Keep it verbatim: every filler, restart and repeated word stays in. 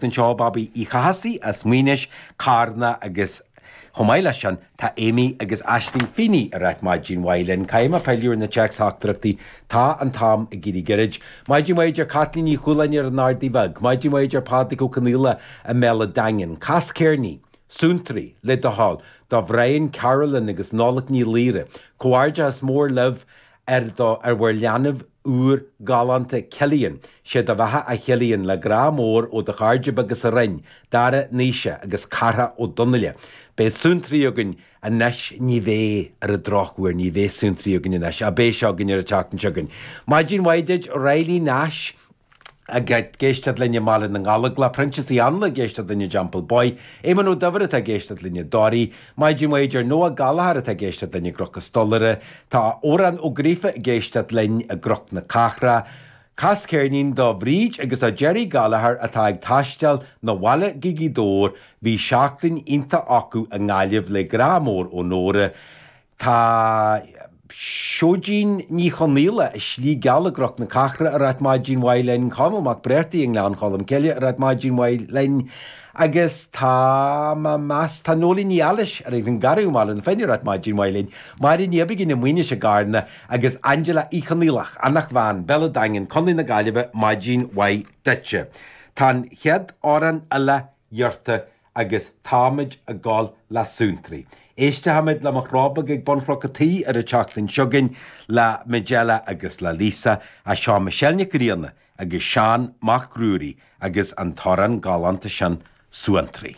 Anseo Bobby Uí Chathasaigh as Maínis, Carna agus chomh maith leis sin tá Amy agus Aisling Feeney ag ráit maidin mhaith linn. Caithfidh mé pilleadh ar na téacstheachtaireachtaí. Tá an t-am ag éirí gairid. Maidin mhaith a deir Caitlín Ní Chualáin ar an Ardaidh Bheag. Maidin mhaith a deir Pádraig Ó Conaola i mBéal an Daingin. Cas ceirnín. Suantraí, le do thoil, do Bhrian, Carolyn agus Nollaig Ní Laoire. Comhghairdeas mór libh ar do ar bhur leanbh úr galánta Cillian. Sé do bheatha a Chillian le grá mór ó do chairde beaga sa Rinn, Dara, Naoise agus Cartha Ó Donnaile. Beidh suantraí againn anois ní bheidh ar an drochuair ní bheidh suantraí againn anois ach beidh sé againn ar an tseachtain seo chugainn. Maidin mhaith duit Riley Nash ag éisteacht linn i mBaile na nGallóglach, Proinsias Uí Anla ag éisteacht linn i dTeampall Bhoy, Éamon Ó Duibhir atá ag éisteacht linn i dToraí, Maidin mhaith a deir Noah Gallagher atá ag éisteacht linn i gCnoc an Stolaire, Tá Odhrán Ó Gríofa ag éisteacht linn i gCnoc na Cathrach, Cas ceirnín do Bhríd agus do Jerry Gallagher atá ag taisteal 'na bhaile go Gaoth Dobhair, bhí seachtain iontach acu i nGaillimh le grá mór ó Nóra. Tá Seoidín Ní Chonaola i Slí Geal i gCnoc na Cathrach ag ráit maidin mhaith linn, Conall Mac Bréartaigh i nGleann Cholm Cille ag ráit maidin mhaith linn agus tá mé ag meas tá Nóilín Ní Ailís ar an nGarraí i mBaile na Finne ag ráit maidin mhaith linn, Máire Ní Oibeagin i Maínis i gCarna agus Angela Uí Chonaola, Eanach Mheáin, Béal an Daingin, Contae na Gaillimhe, maidin mhaith duitse. Tá an chéad amhrán eile iarrta agus táimid ag gabháil le suantraí. Éistfimid le Mo Chró Beag ag Bun Chnoc an Tí ar an tseachtain seo chugainn le Majella agus le Lisa, ach seo Michelle Nic Grianna agus Seán Mac Ruairí agus an t-amhrán galánta sin Suantraí.